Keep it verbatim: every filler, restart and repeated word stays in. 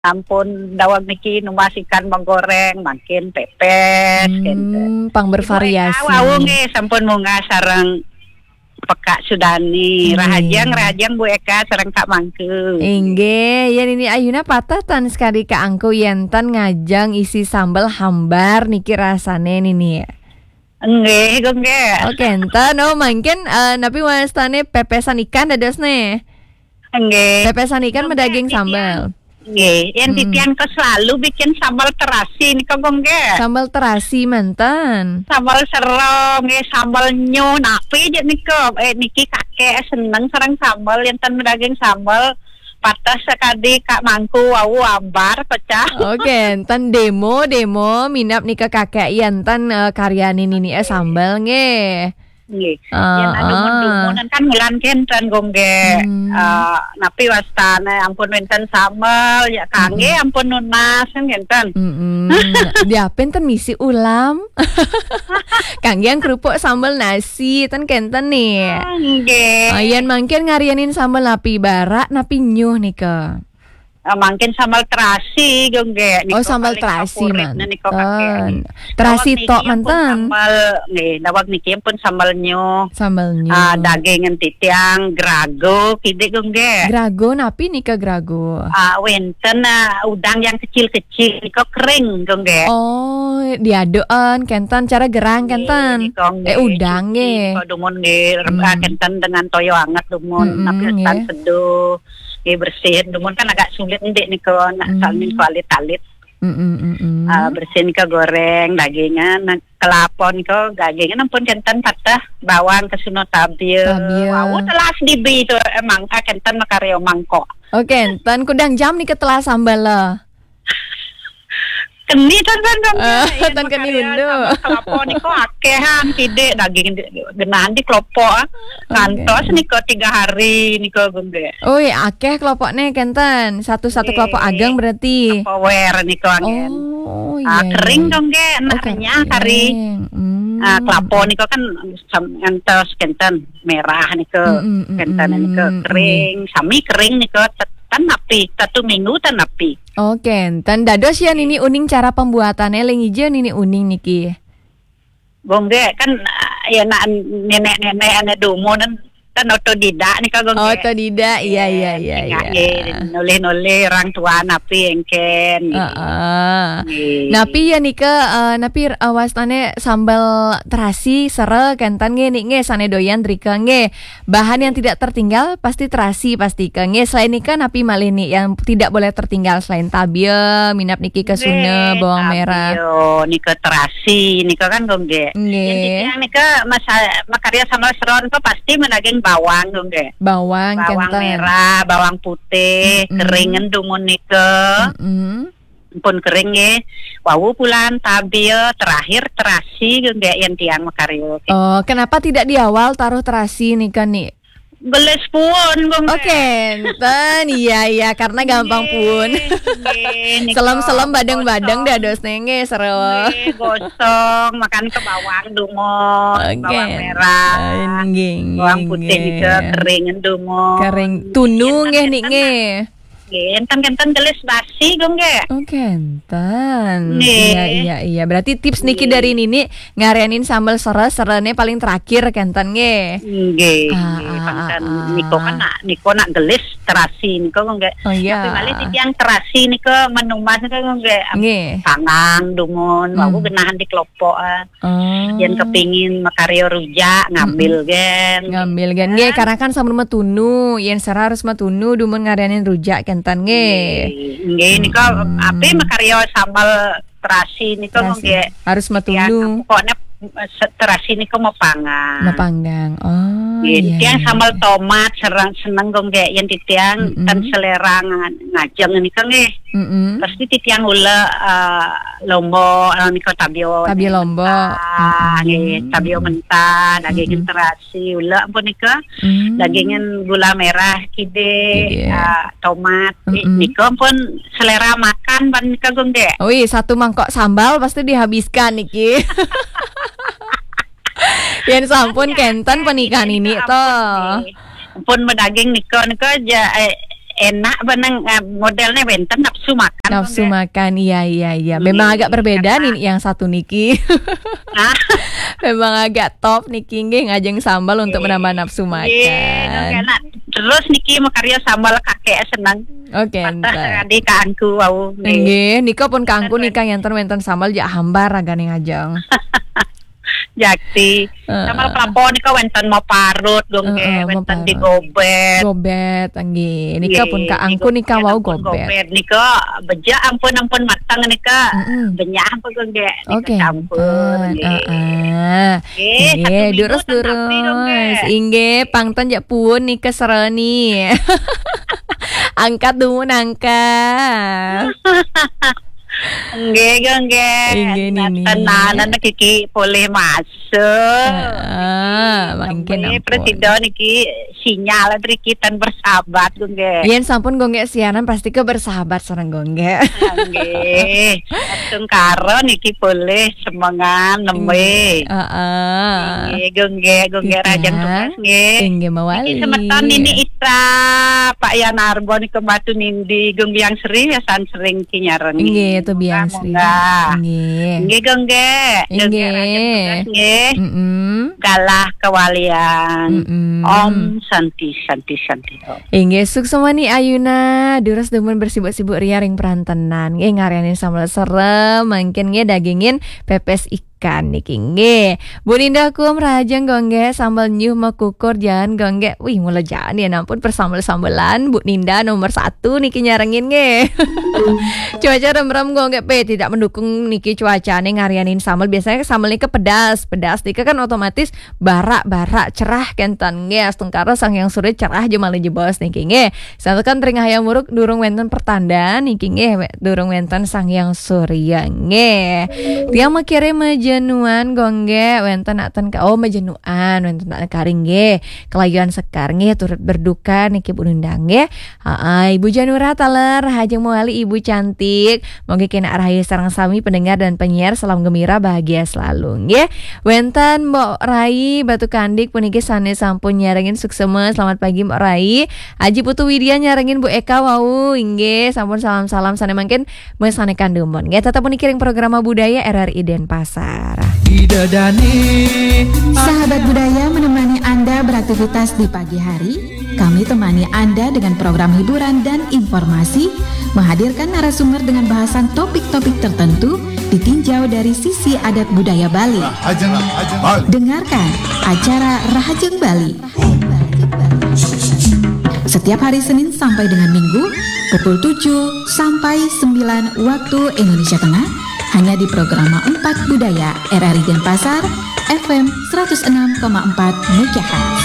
Ampun daweg niki numbas ikan magoreng, mangkin pepes, gitu. Hmm, pang bervariasi. Ibu Eka, wau nggih sampun munggah sareng Pekak Sudani. Nggih. Rahajeng, rahajeng Bu Eka sareng Kak Mangku. Inggih, yen ini ayuna patah tan sekali Kak Angku yen ten ngajeng isi sambel hambar niki rasane nini. Nggih, nggih. Oke, enten. Oh, mangkin, eh, napi wastane pepesan ikan dados ne? Nggih. Pepesan ikan medaging sambel. Nggih, yen titiang ke selalu bikin sambal terasi nika, nggih. Sambal terasi manten. Sambal sero, nggih, sambal nyuh, napi je nika. Eh, niki kakek seneng sareng sambal, yen ten medaging sambal. Patah sekadi Kak Mangku wau ambar pecah. Oke, enten demo, demo, minap nika kakek, yen ten, eh, karyane nini, eh, sambal, nggih. Nggih. Ah, yen anu ah. Dumun kan mulan kenten, nggih. Hmm. Eh, napi wastane ampun wenten sambel, ya kangge ampun nunas kan kenten. Mm-mm. Diapen ten misi ulam. Kangge yang kerupuk sambel nasi ten kenten nih. Ah, nggih. Ah, yen mangkin ngarianin sambel napi barak, napi nyuh nika. Ah, mangkin sambal terasi, nggih. Oh, sambal terasi manten. Terasi tok manten. Sambal, nggih, daweg niki pun sambal nyuh. Sambal nyuh. Ah, daging titiang, grago, kidik, nggih. Grago, napi nika grago? Ah, wenten, ah, udang yang kecil-kecil, nika kering, nggih. Oh, diadukan, kenten, cara gerang, kenten. Eh, udang, nggih. Nika dumun, nggih, kenten dengan toyo anget dumun, napi tan seduh. Nggih, bersihin dumun kan agak sulit ndik nika nak salin kualit-alit. Mm-mm, mm-mm. Ah, bersihin ke goreng dagingan, nah, kelapa nika dagingan ampun kenten patah bawang ke suno tabil. Tabil. Wau telas dibi tu emang ah, kenten makarya mangkok. Oke, enten kudang jam nika telas sambal lah. Keni tan tan tan. Ah, tan keni indu. Kelapa nika akehan kidik daging di- genah di kelapa ah. Ngantos nika tiga hari nika, nggih. Oi, akeh kelopone kenten. Satu-satu kelapa ageng berarti. Power nika angin. Oh, iya. Ah, kering dong, nggih. Enaknya kari. Hmm. Ah, kelapa nika kan sam- ngantos kenten merah nika. Mm, mm, mm, kenten nika kering. Sami kering nika tet- tan napi. Satu minggu tan napi. Oke, enten dados ya nini uning cara pembuatannya ling ijo nini uning niki. Gongge kan ah, ya nak nenek-nenek ane dumun kan otodidak nika gongge. Otodidak, iya, iya, iya, iya. Nulih-nulih orang tua napi engken. Heeh. Nggih. Napi ya nika eh, napi eh, wastane sambal terasi sere kenten nggih nik nggih sane doyan drika nggih. Bahan yang tidak tertinggal pasti terasi pasti ke nggih. Selain nika napi malih nik yang tidak boleh tertinggal selain tabia, minap niki ke suna, bawang merah. Tabia, nika terasi, nika kan gongge. Nggih. Yang titiang nika masa makarya sambal seron ke pasti menaging bawang gongge. Bawang, bawang merah, bawang putih, keringan dumun nika. Mm-mm. Pun kering nggih. Wau pulan tabia terakhir terasi nggih yang tiang makarya. Oh, kenapa tidak di awal taruh terasi nika nih? Gelis pun, Bung. Oke, enten. Iya, iya, karena gampang pun. Nggih, nggih, nika selem-selem badeng-badeng gosong. Dados nenge seru. Nggih, gosong, makan ke bawang dumun, oke. Bawang merah. Eh, nggih, nggih, bawang putih nggih. Nika kering dumun. Kering. Tunu nggih nik nggih. Nggih, enten-enten gelis basi, Gung, nggih. Oh, kenten. Nggih. Iya, iya, iya. Berarti tips niki dari Nini ngarenin sambel sere-serene paling terakhir kenten nggih. Nggih, ah, nggih, ah, pangkan ah, ah. Niko kan nak, niko nak gelis terasi niko, Gung, nggih. Oh, iya. Tapi malih titiang terasi niko menumbas niko, Gung, nggih. Nggih. Sangang dumun, hmm. Aku genahan di kelopokan. Oh. Yen kepingin makarya rujak, ngambil gen. Ngambil gen. Nggih, karena kan sampun metunu, yen sera harus metunu dumun ngarenin rujak kenten nggih. Nggih, nggih, nika ape makarya sambal terasi nika nggih. Harus metunu. Pokoknya se- terasi nika mau panggang. Mau panggang. Oh, nggih, iya, tiang iya, sambal iya. Tomat serang seneng nggih yen titiang ten selera nga- ngajeng nika nggih. Mm-mm. Pasti titiang ula eh, lombok eh, nika tabio. Tabio lombok. Ah, nggih, tabio mentah, daging terasi ula ampun nika. Mm. Dagingan gula merah kide, ah, tomat, nika ampun selera makan pan nika, Gung, nggih. Wih, satu mangkok sambal pasti dihabiskan niki. Yen sampun kenten pernikahan ini to. Ampun, nggih. Ampun medaging nika, nika ja, eh, enak benang, eh, modelnya wenten nafsu makan. Nafsu makan, iya, iya, iya. Memang agak berbeda nih yang satu niki. Memang agak top niki nggih, ngajeng sambal untuk menambah nafsu makan. Terus niki makarya sambal kakek seneng. Oke, entar. Tadi kaanku wau. Nggih, nika pun kaanku nika yanten wenten sambal jak hambar ragane ngajeng. Jakti. Sambal kelapa nika wenten mau parut, Gung, nggih, wenten digobet. Gobet, nggih. Nika pun kaanku nika wau gobet. Gobet nika beja ampun-ampun mateng nika. Benyah apa, Gung, nggih? Nika campur, nggih. Nggih, durus-durus. Inggih, pangten jak puun nika sereni. Angkat dumun angkat. Nggih, Gung, nggih. Inggih, Nini. Tenanan kiki polih masuk. Heeh, mangkin ampun. Presido niki sinyal mriki tan bersahabat, Gung, nggih. Yen sampun, Gung, nggih, siaran pasti ke bersahabat sareng, Gung, nggih. Nggih. Tungkara niki polih semengan nembe. Heeh. Nggih, Gung, nggih, Gung, nggih, rajang tugas, nggih. Inggih, mawali. Niki semeton Nini Ita, Pak Yanarbo nika Batu Nindi, Gung Biang Sri, biasan sering kinyareng. Inggih, itu Biang Sri. Nggih. Nggih, Gung, nggih. Gung, nggih, rajang tugas, nggih. Galah kawalian. Om Santi, Santi, Santi, Om. Inggih, suksmani ayuna, durus dumun bersibuk-sibuk ria ring perantenan. Nggih, ngaryanin sambel serem, mangkin nggih dagingin pepes ikan niki nggih. Bu Ninda Kum rajeng, Gung, nggih, sambel nyuh mekukur jan, Gung, nggih. Wih, mula jan ya ampun persambel-sambelan Bu Ninda nomor satu niki nyarengin nggih. Cuaca remrem, Gung, nggih, pe tidak mendukung niki cuacane ngaryanin sambel. Biasanya sambel niki pedas, pedas niki kan otomatis barak-barak cerah kenten nggih. Astungkara Sang Hyang Surya cerah jemale jebos niki nggih. Santukan ring Hayam Wuruk durung wenten pertanda niki nggih, durung wenten Sang Hyang Surya nggih. Tiang makire majenuan, Gung, nggih, wenten nak ten ka, oh, majenuan, wenten nak karing nggih. Kelayuan sekar nggih, turut berduka niki Bu Ninda nggih. Heeh, Ibu Janura taler, rajeng mawali Ibu cantik. Monggo kenak rahayu sareng sami pendengar dan penyiar, salam gembira, bahagia selalu nggih. Wenten Mbok Rai Batu Kandik puniki sane sampun nyarengin suksema. Selamat pagi, Mbok Rai. Aji Putu Widya nyarengin Bu Eka wau, inggih, sampun salam-salam sane mangkin mesanekan dumun. Nggih, tetep puniki ring programa budaya R R I Denpasar. Ida Dani. Sahabat budaya menemani Anda beraktivitas di pagi hari. Kami temani Anda dengan program hiburan dan informasi, menghadirkan narasumber dengan bahasan topik-topik tertentu, ditinjau dari sisi adat budaya Bali. Rahajeng Bali. Dengarkan acara Rahajeng Bali. Setiap hari Senin sampai dengan Minggu, pukul tujuh sampai sembilan waktu Indonesia Tengah, hanya di Programa empat Budaya R R I Denpasar, F M seratus enam koma empat megahertz.